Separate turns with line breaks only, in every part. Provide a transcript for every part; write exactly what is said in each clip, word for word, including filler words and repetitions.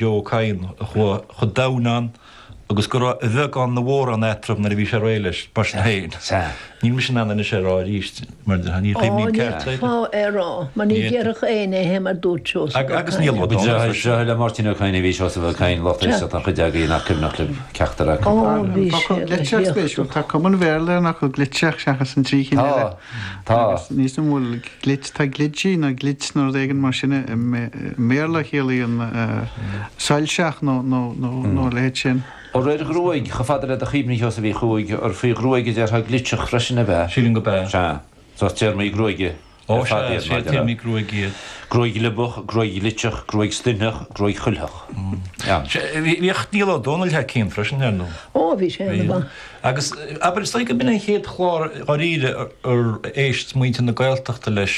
Joe Ó Cadhain a chuaigh chomh domhain ann agus go raibh a bheagán a mhórán eatarthu nuair a bhí sé réidh leis, mar sin féin.
Sea.
Níl mise in ann anois é a rá arís, mar ní
Ó,
chuimhním
ní
ceart air.
fáth é a rá, mar ní déarfadh éinne é mar dúirt Seosamh Ó
Agus Niall Ó
Ba
Dónaill
deartháir
freisin.
deartháir le Máirtín Ó Cadhain a bhí Seosamh Ó Cadhain, lucht éisteachta an chuid agaibh nach cuimhneach libh ceachtar acu.
Ó, bhí
An focal
sé go
glitseach spéisiúil.
héachtach.
Tá cuma an Bhéarla ar an fhocal glitseach seachas an trí chinn
Tá,
eile.
tá.
Agus níos an bhfuil glit, tá glitchy nó glitch nó rud éigin mar sin i mBéarla a chiallaíonn soilseach nó nó nó nó a leithéid sin.
Ó réir ghruaig, chomh fada le do chuimhne Sheosaimh Uí Chuaig, ar faoi ghruaig a déarfá glitseach freisin ab ea?
Sílim go b'ea.
Sea. So téarmaí gruaige
Ó
ar fad
sea,
iad,
sea,
mar a déarfá.
téarmaí gruaige iad.
Gruaig ghliobach, gruaig ghlitseach, gruaig stuineach, gruaig chuiltheach. Sea.
Sea, bhíodh Niall Ó Dónaill thar cionn freisin, ar ndóigh.
Ó, bhí sé ana-mhaith.
Agus, abair, is dóigh go b'in an chéad chlár dháiríre ar éist muintir na Gaeltachta leis,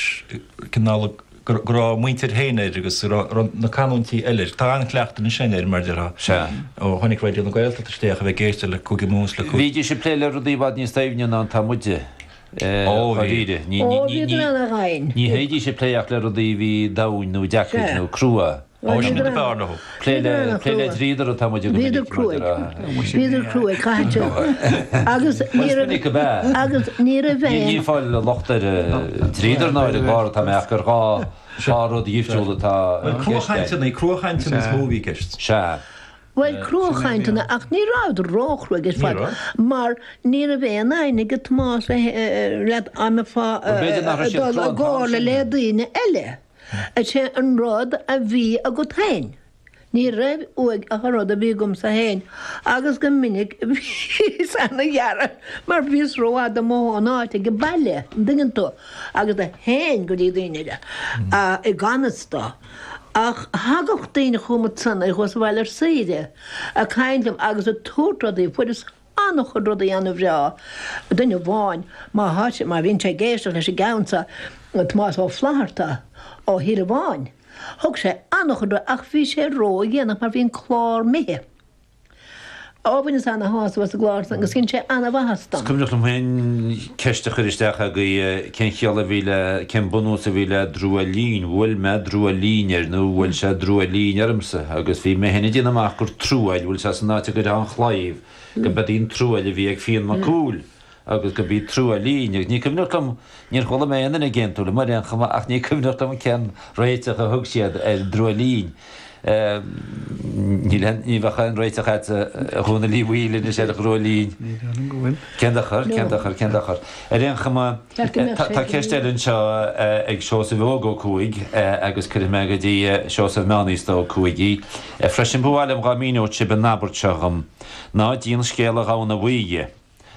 cineál go raibh a muintir féin air agus go raibh na canúintí eile air. Tá an-chleachtadh anois againn air, mar a déarfá.
Sea.
Ó tháinig Raidió na Gaeltachta isteach a bheith ag éisteacht le Cúige Mumhan is le Cúige.
Bhídís ag plé le rudaí i bhfad níos doimhne ná atá muide,
Ó, bhí.
dháiríre. Ní,
Ó,
ní, ní,
bhíodar ana-dhoimhin.
ní théidís ag plé ach le rudaí a bhí domhain nó deacair
Sea.
nó crua.
Ó, sin rud ab fhearr leo.
Plé le, plé le dríodar atá muide go
Bhíodar
minic, mar
cruaidh.
déarfá.
Bhíodar cruaidh, caithfidh sé. Agus ní
Bhuel, is
raibh,
minic ab ea.
agus ní raibh
Ní, ní
aon,
fáil locht ar dríodar ná ar an gclár atá mé ach gur dhá, dhá rud dhifriúil atá
Bhuel,
i gceist air.
cruachainteanna, cruachainteanna is mó a bhí i gceist.
Sea.
bhuel, cruachainteanna, ach ní rabhadar róchruaidh ar
Ní
fad,
raibh.
mar ní raibh aon fhoighne ag Tomás le, le am fá,
Bhuel, b'fhéidir nach raibh siad
dul
crua
i
an t-am
gcomhairle
sin.
le daoine eile. Is é an rud a bhí agat féin. Ní raibh uaidh ach an rud a bhí agamsa féin agus go minic bhíos ana-ghearrtha mar bhíos rófhada amuigh ón áit ag an baile, an dtuigeann tú, agus do théinn go dtí daoine eile i gan fhios dó. Ach thagadh daoine chugam ansan nuair a chuas abhaile ar saoire ag caint liom agus ag tabhairt rudaí, fuaireas an-chuid rudaí an-bhreá. Duine amháin, má thá sé, má bhíonn sé ag éisteacht leis an gceann seo, Tomás Ó Flaithearta ó Thír Bháin, thug sé an-chuid rudaí ach bhí sé ródhéanach mar bhí an clár imithe. Ó, bhaineas ana-shásamh as an gclár san agus dhein sé ana-mhaitheas
Is
dom.
cuimhneach liom féin ceist a chur isteach agaibh cén chiall a bhí le, cén bunús a bhí le druailín, bhuail mé druailín air nó bhuail sé druailín ormsa agus bhí mé féin ag déanamh amach gur truaill, bhfuil sé san áit a gcuirfeá an chlaíomh, go b'ead í an truaill a bhí ag Fionn Mac Cumhaill agus go b'í truaillín agus ní cuimhneach liom, níor chuala mé aon duine ag aontú liom ar aon chuma ach ní cuimhneach liom cén réiteach a thug siad ar druaillín. Níl aon, ní bheadh aon réiteach agat a Dhónaill Uí Bhaoill anois ar dhruaillín.
Ní dóigh liom go bhfuil.
Cén dochar, cén dochar, cén dochar. Ar aon chuma, tá ceist eile anseo ag Seosamh Óg Ó Cuaig agus cuirfidh mé go dtí Seosamh Meánaosta Ó Cuaig í. Freisin, ba mhaith liom dhá míneodh sibh an abairt seo dhom, Ná díon scéal a ghamhna bhuí dhe.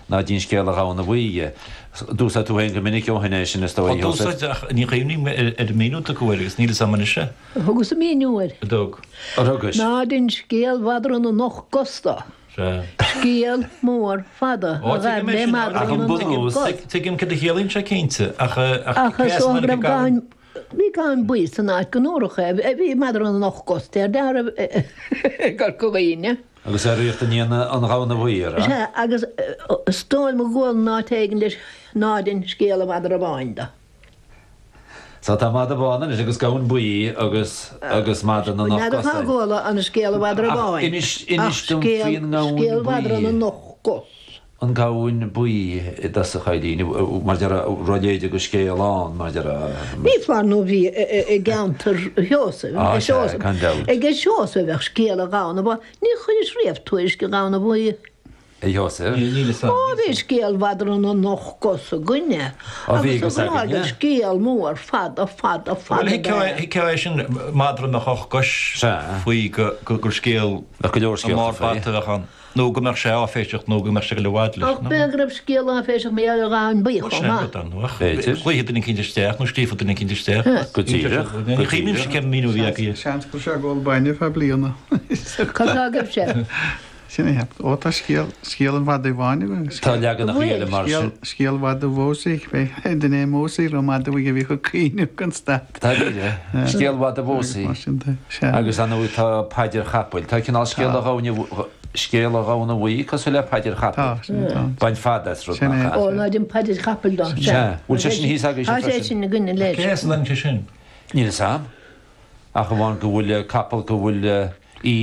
Ná díon scéal a ghamhna bhuí dhe. D'úsáid tú féin go minic ó shin é sin, is dóigh,
Ó, d'úsáid, ach ní chuimhním ar an míniú a tugadh air agus níl fhios a'm anois é.
Thugas an míniú air.
A dtug?
Ar thugais?
Ná dein scéal mhadra na n-ocht gcos dó.
Sea.
Scéal mór fada
Ó,
a
tuigim
ghaibh
é
le
sin,
madra
ach
na
an
n-ocht
bunús,
gcos.
tuigim cad a chiallaíonn sé cinnte, ach ach
Ach
cé
is
as a
dócha go
tháinig
raibh
an gamhain?
gamhain, bhí gamhain buí san áit go ndúradh é, bhí madra na n-ocht gcos, deir deartháir i gCorca Dhuibhne.
Agus ar ríocht an an ghamhna bhuí, ar ea?
Sea, agus is dóigh liom go gcuala áit éigin leis ná dein scéal an mhadra bháin do.
So tá madra bán anois agus gamhain buí agus agus madra na n-ocht
N'fheadar
gcos
cá
air.
gcuala an scéal an mhadra
Ach
bháin,
inis, inis
ach
dom
scéal,
faoin ngamhain
scéal mhadra na
buí.
n-ocht gcos.
An gamhain buí i dtosach, a Eilín, mar deir raibh léide go scéal ann, mar deir.
Ní foláir nó bhí i gceantar Sheosaimh,
Á,
ag
sea,
Seosamh,
gan dabht.
ag Seosamh a bheadh scéal an ghamhna bhuí. Ní chuiris riamh tuairisc an ghamhna bhuí.
A Sheosaimh?
Níl fhios a'm.
Ó, bhí scéal mhadra na n-ocht gcos againne
Ó, bhí
agus
agus
a ghnáth
againne.
gur scéal mór fada, fada,
Bhuel,
fada
thuigfeá
ab ea.
thuigfeá é sin, madra a mbeadh ocht gcois
Sea.
faoi go, go, gur scéal
Bheadh go leor
i
scéalta
mbarr
faoi.
bata a bheadh ann. Nó go mbeadh sé áiféiseach nó go mbeadh sé go le bhfad leis,
Ach
nó?
b'fhéidir go raibh scéal áiféiseach mar gheall ar ghamhain buí
Bhuel,
chomh
sin
maith.
rud ann, ach
B'fhéidir.
glaofaidh duine eicínt isteach nó scríobhfaidh duine eicínt isteach.
Go díreach,
Ní
go
chuimhnímse
díreach.
cén míniú a bhí agaibh.
Seans go raibh sé ag ól bainne feadh bliana.
Cad tá agaibhse?
Sin é cheap. Ó tá scéal, scéal an mhadaidh bháin againn.
Tá leaganacha eile mar
Scéal,
sin.
scéal mhadadh Mhósaí, b'é duine é Mósaí raibh madadh uaidh a bhíodh ag caoineadh gan stad.
Tá ríre. Scéal mhadaidh Mhósaí.
Mar sin de, sea.
Agus ar ndóigh tá paidir chapaill. Tá cineál scéal a ghamhna, scéal a ghamhna bhuí cosúil le paidir
Tá,
chapaill.
sin é, tá.
Bain fad as rud
Sin
nach
é.
ea.
Ó, ná dein paidir chapaill dó, sea.
Sea. Bhfuil sé sin thíos agaibhse
Tá sé
freisin?
sin againne leis.
Cé as a dtagann sé sin?
Níl fhios a'm. Ach amháin go bhfuil capall go bhfuil